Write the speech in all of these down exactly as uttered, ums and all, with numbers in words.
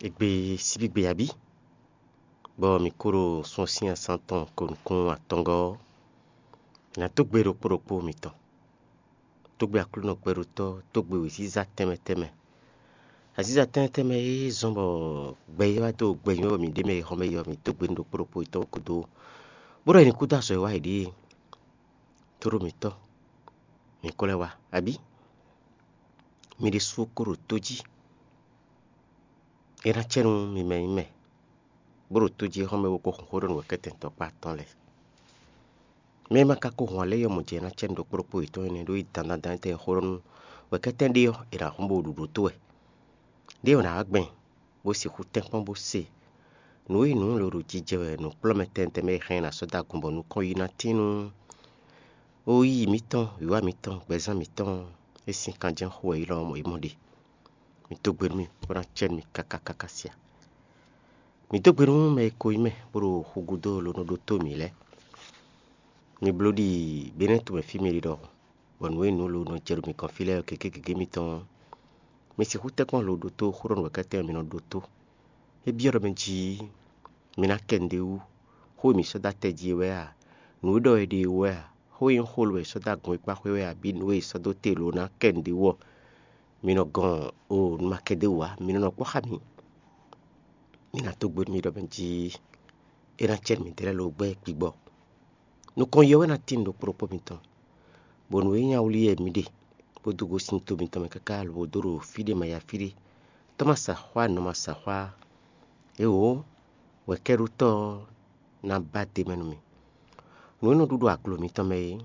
Égbé síbígbe abí, bɔ mǐ kó ɖo sun sín asán tɔn ko nukún atɔngɔ́ ɔ́, è nǎ dó gbe ɖokpó ɖokpó mitɔn. Dó gbe Aklúnɔ gbɛɖótɔ́, dó gbe wěziza tɛnmɛ tɛnmɛ. Aziza tɛnmɛ tɛnmɛ e zɔ́n bɔ gbɛ e wá dó gbɛ nyɔ́ mǐ ɖe mɛ e xɔmɛ yɔ mǐ dó gbe nú ɖokpó ɖokpó yětɔn gúdo, bó ɖɔ è nǐ kú dó azɔ̌ e wá yě ɖíe. Tóɖó mǐtɔn, mǐ ko lɛ́ wá, abǐ? Mi ɖésú ko ɖo tó jí. É ná cɛ nú mi mɛ nyí mɛ, bó ɖo tó jí xɔ́n mɛ bó ko hun xó ɖɔ nǔ wɛ̌kɛ́tɛn tɔkpá tɔn lɛ́ɛ. Mɛ e ma ka ko hun alě yɔmɔ̌ jɛ ná cɛ nú ɖokpó ɖokpó yětɔn énɛ́ ɖó yi dandan dandan tɛn xó ɖɔ nú wɛ̌kɛ́tɛn ɖé ɔ́, è nǎ hun bó ɖu ɖǒ tó wɛ. Ɖé ɔ́, nǎ wá gbɛn, bó sixú tɛ́nkpɔ́n bó se nǔ e nǔ lǒ ɖo jijɛ wɛ nǔkplɔ́nmɛ tɛntɛn mɛ e hɛn ná sɔ́ dó agun bɔ nukɔn yi ná tín nú ó yí mǐtɔn, wǐwá mǐtɔn, gbɛzán mǐtɔn e sín kanjɛ́n xo wɛ é lɔ é mɔ ɖe. Mǐ dó gbe nú mì, bó ná cɛ nú mì káká káká sia. Mǐ dó gbe nú mɛ e ko nyí mɛ, bó ɖo xu gúdo ló nɔ ɖótó mǐ lɛ́ɛ. Mi bló ɖi Benɛ́ɛ tomɛ fí mi ɖi ɖɔhun, bɔ nǔ e nǔ lo nɔ jɛ ɖo mi gɔ́n fí lɛ́ɛ ɔ́ gěgé gěgé mitɔn ɔ́, mi sixú tɛ́nkpɔ́n lo ɖótó xó ɖɔ nǔ wɛ kɛ́tɛ́ mi nɔ ɖótó. É byɔ́ ɖɔ mɛ jí mi ná kɛ nǔɖé wú, xó e mǐ sɔ́ dó atɛ jí é wɛ a? Nǔ e ɖɔ è ɖe é wɛ a? Xó e nyí xó lo e è sɔ́ dó agun e kpá xwé wɛ abǐ nǔ e è sɔ́ dó te lo ná kɛ nǔɖé wú ɔ́, mi nɔ gɔn o nǔ ma kɛ dó wú ǎ, mi nɔ nɔ kpɔ́ xá mǐ. Mi ná dó gbe nú mì ɖɔ mɛ jí é ná cɛ nú mǐdɛɛ lɛ́ɛ lo gbɛ́ gbigbɔ. Nukɔn yɛ wɛ ná tín ɖo kplɔ́kpɔ́ mitɔn, bɔ nǔ e nyí awlí wɛ mǐ ɖe, bó dó gosín to mitɔn mɛ káká lobo dó ɖo fí ɖé ma yi afí ɖé. Tɔ́ ma sa xwá, nɔ ma sa xwá. Éwǒ, wɛ̌kɛ́ɖótɔ́ ɔ́ ná ba d'é mɛ nú mì. Nǔ e nɔ ɖu ɖo aglo mitɔn mɛ é,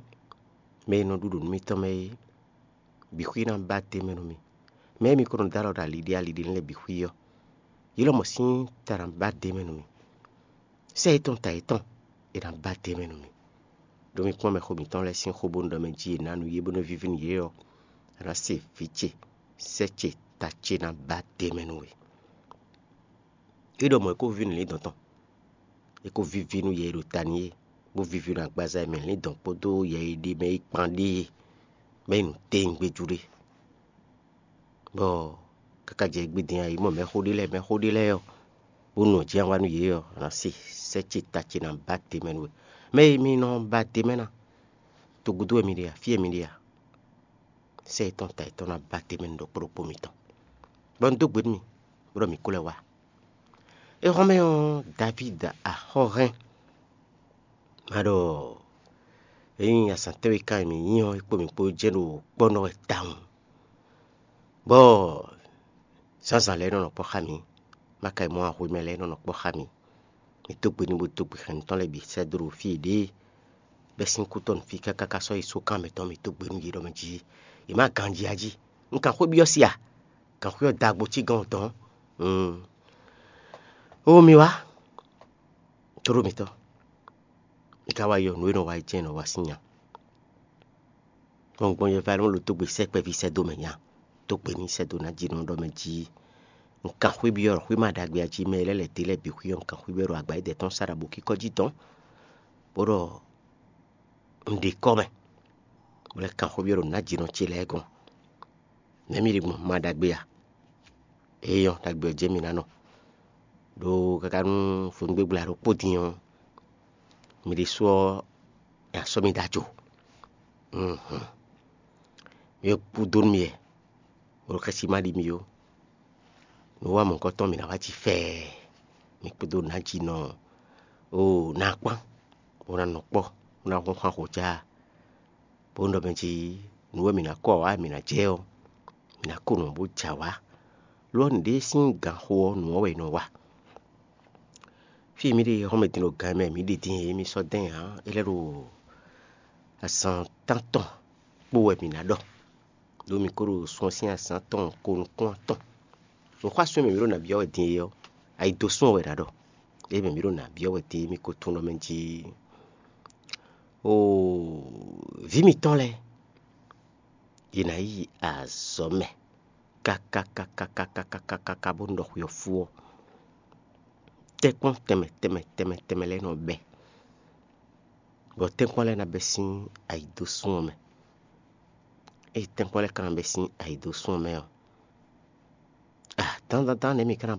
mɛ e nɔ ɖu ɖo nǔ mitɔn mɛ é, bǐ xwí ná ba d'é mɛ nú mì. Mɛ e mi ko nɔ dó alɔ ɖo ali ɖé ali ɖé lɛ́ɛ bǐ xwí ɔ́, yě lɔmɔ̌ sín ta ná ba d'é mɛ nú mì. Sɛ́ yětɔn ta yětɔn, è nǎ ba d'é mɛ nú mì. Ɖó mi kpɔ́n mɛxó mǐtɔn lɛ́ɛ sín xó bónú ɖɔ mɛ jí è nǎ nú yě bónú é víví nú yě ɔ́, a nǎ se vǐ ce, sɛ́ ce, ta ce ná ba d'é mɛ nú we. É ɖɔ mɔ̌ é ko víví nú lǐndɔ̌n tɔn, é ko víví nú yɛ e ɖo ta n'i é, bó víví nú agbaza e mɛ lǐndɔ̌n kpódó yɛ e ɖe mɛ é kpan ɖée, bɔ é nyí nǔ tɛ́ngbéjú ɖé. Bɔ káká jɛ gbidin ayǐ mɔ mɛxó ɖé lɛ́ɛ, mɛxó ɖé lɛ́ɛ ɔ́, bó nɔ jǐ wá nú yě ɔ́, a nǎ se sɛ́ ce ta ce ná ba te mɛ nú we. Mɛ e mi nɔ ba te mɛ ná, togudo wɛ mi ɖe a, fí wɛ mi ɖe a? Sɛ́ yětɔn ta yětɔn ná ba te mɛ nú ɖokpó ɖokpó mitɔn. Bɔ un dó gbe nú mi, bó ɖɔ mǐ kó lɛ́ wá. Éhɔ́nmɛ ɔ́, Davídi axɔ́hɛn ma ɖɔ ényí azǎn tɛ́nwe ká e mǐ nyí ɔ́, é kpo mǐ kpó jɛ́n ɖo kpɔ́ nɔ wɛ tawun. Bɔ zǎnzǎn lɛ́ɛ nɔ nɔ kpɔ́ xá mǐ, ma ka yi mɔ ahwemɛ lɛ́ɛ nɔ nɔ kpɔ́ xá mǐ. Mǐ dó gbe n'i bó dó gbe xɛn mǐtɔn lɛ́ɛ bǐ sɛ́ dó ɖo fí e ɖě bɛ́ sín kútɔ́ nǔ fí káká ká sɔ́ yi sókan mǐtɔn mǐ dó gbe nú yě ɖɔ mɛ jí yě má ganji a jí. Un kan xwé byɔ́ si a? Kan xwé ɔ́ da agbo cí gɔ́n dɔn. Oo mi wá, tóɖó mǐtɔn, mi ka wá yɔ nǔ e nɔ wa yi jɛ́n nɔ wa sín nya. Gbɔngbɔn yɛ va nɔ lo dó gbe sɛ́ kpɛví sɛ́ dó mɛ nya, dó gbe ní sɛ́ dó ná jí nɔ ɖɔ mɛ jí. Un kan xwé byɔ́ ɖɔ xwé ma ɖagbe a jí mɛ e lɛ́ lɛ̌ dé lɛ́ɛ bǐ xwí ɔ́, un kan xwé byɔ́ ɖɔ agba yi dɛ tɔn sá ɖo abǒ kíkɔ́ jí dɔn, bó ɖɔ un ɖe kɔ́ mɛ, bó lɛ́ kan xwé byɔ́ ɖo nǎjínɔ ce lɛ́ɛ gɔ́n. Nɛ̌ mi ɖe gbɔn ma ɖagbe a? Éyɔ́, ɖagbe ɔ́ jɛ́n mi ná nɔ. Ɖó káká nú vodúngbégbla ɖokpó din ɔ́, mi ɖésú ɔ́, è nǎ sɔ́ mi ɖó ajo. Mi e kú dó nú mi wɛ, bó ɖo xɛsi ma ɖi mi ó. Nǔ wa mɔ̌hunkɔtɔn mi ná wá jí fɛɛ, mi kpódó nǎjínɔ o ná kpán, bó ná nɔ kpɔ́, bó ná hún xwán xo cá. Bó nɔ mɛ jí nǔ e mǐ ná kɔ wá mǐ ná jɛ ɔ́, mǐ ná ko nǔ bó jɛ awǎ. Lo ɔ́, nǔɖé sín ganxo ɔ́, nǔ ɔ́ wɛ è nɔ wa. Fí e mǐ ɖe ɔ́, mɛ din ɖo gan e mɛ mǐ ɖe din e mi sɔ́ dɛn ǎ, é lɛ́ ɖo azǎn tántɔn kpó wɛ mǐ ná ɖɔ, ɖó mi ko ɖo sun ɔ́ sín azǎn tɔn ko nukún atɔn. Nǔxwásún e mɛ mǐ ɖo nǎ byɔ́ wɛ din é ɔ́, ayi dó sún ɔ́ wɛ è nǎ ɖɔ. Ée mɛ mǐ ɖo nǎ byɔ́ wɛ din é, mi ko tunwun ɖɔ mɛ jí oo, vǐ mitɔn lɛ́ɛ, yě ná yi azɔ̌ mɛ kákákákákákákáká bónú ɖɔ xwe ɔ́ fú ɔ́, tɛ́nkpɔ́n tɛnmɛ tɛnmɛ tɛnmɛ tɛnmɛ lɛ́ɛ nɔ bɛ́, bɔ tɛ́nkpɔ́n lɛ́ɛ ná bɛ́ sín ayǐdósún ɔ́ mɛ. Ée tɛ́nkpɔ́n lɛ́ɛ ka ná bɛ́ sín ayǐdósún ɔ́ mɛ ɔ́, a dandandan nɛ̌ mǐ ka ná